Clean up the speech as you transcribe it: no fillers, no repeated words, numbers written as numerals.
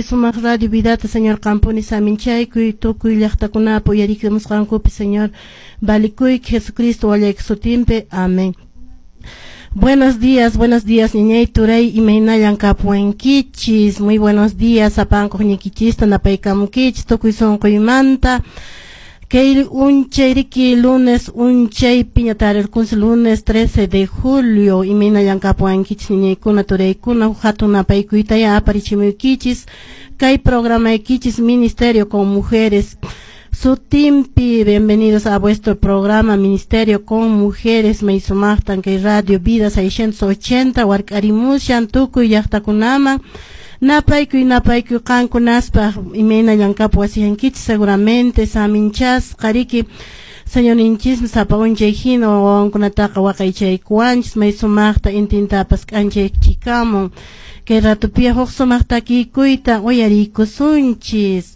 Sumaq radio vidata, Señor, qampuni saminchaykuy, tukuy llaqtakunapi uyarikamusqankupi, Señor, valikuyki Jesucristo wallayki sutinpi. Amén. Buenos días, ñañay, turay, imaynallan kapuwankichis? Muy buenos días, sapankuq ñikichista napaykamukichis tukuy sunquymanta. Kay unchay riki lunes unchay piña tarirkunsi lunes 13 de julio, imaynallan kapuwankichis, ñañaykuna, turaykuna? Hatun napaykuytaya aparichimuykichis kay programaykichis Ministerio con Mujeres sutinpi. Bienvenidos a vuestro programa Ministerio con Mujeres. May sumaqtan kay Radio Vida 680 wark'arimushan tukuy llaqtakunaman. Napaykuy, napaykuy qankunaspaq. Imaynallan kapuwasiyankichis? Seguramente saminchasqa riki. Señorninchismi sapa unchay hina wawankunataqa waqaychaykuwanchis, may sumaqta intintapas k'anchaychikamun. Kay ratupiya huk sumaq takikuyta uyariykusunchis.